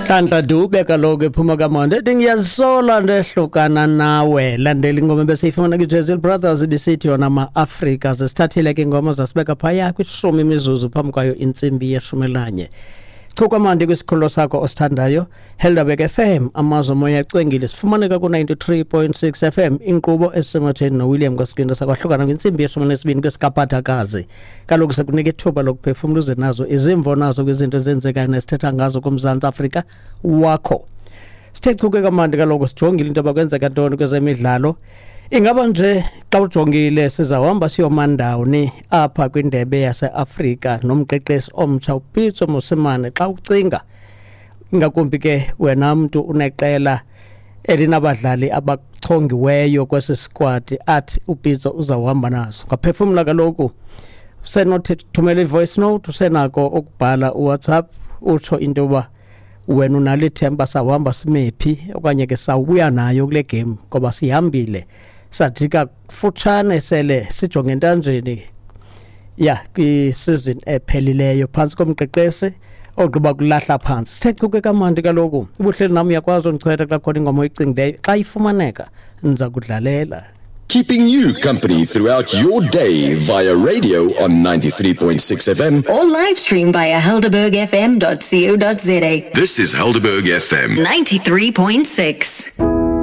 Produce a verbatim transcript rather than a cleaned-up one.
Nhlanhla Dube kaloku ephuma kaMonde ethi ngiyazisola ndehlukana nawe. Landela ingoma besiyifumana kwi-Jezil Brothers ibisithi yona ma-Afrika. Zisithathile ke ingoma zasibeka phaya kwishumi imizuzu phambi kwayo intsimbi yeshumi elanye. Chukwamandi kwisikhululo sakho osithandayo, Helderberg F M, amazwe omoya acwengile. Sifumaneka ku-ninety-three point six F M. Inkqubo esematheni noWilliam Kwasikindo. Sakwahlukana kwintsimbi yeshumi nesibini kwesikaphathakazi. Kaloku sikunika ithuba lokuphefumla uze nazo izimvo nazo kwizinto ezenzekayo nesithetha ngazo kuMzantsi Afrika wakho. Sithe chuke kamandi kaloku sijongile into yoba kwenzeka ntoni kwezemidlalo. Ingaba nje xa ujongile sizawuhamba siyomandawuni apha kwindebe yaseAfrika nomqeqeshi omtsha uPitso Mosimane? Xa ucinga, ingakumbi ke wena mntu uneqela elinabadlali abachongiweyo kwesi sikwadi athi uPitso uzawuhamba nazo, ngaphefumla kaloku usenothi thumela i-voice note, usenako ukubhala uWhatsApp, utsho into yoba wena unalo ithemba sawuhamba simephi okanye ke sawubuya nayo kule game, ngoba sihambile sajika kufutshane sele sijonge entanjeni ya kwi-season ephelileyo phantsi komqeqeshi ogqiba kulahla phantsi. Sithe chuke kamandi kaloku ubuhleli nam, uyakwazi undichwetha xa khona ingoma oyicingileyo. Xa ifumaneka ndiza kudlalela. Keeping you company throughout your day via radio on ninety-three point six F M. Or live stream via helderberg F M dot co dot za. This is Helderberg F M. ninety-three point six.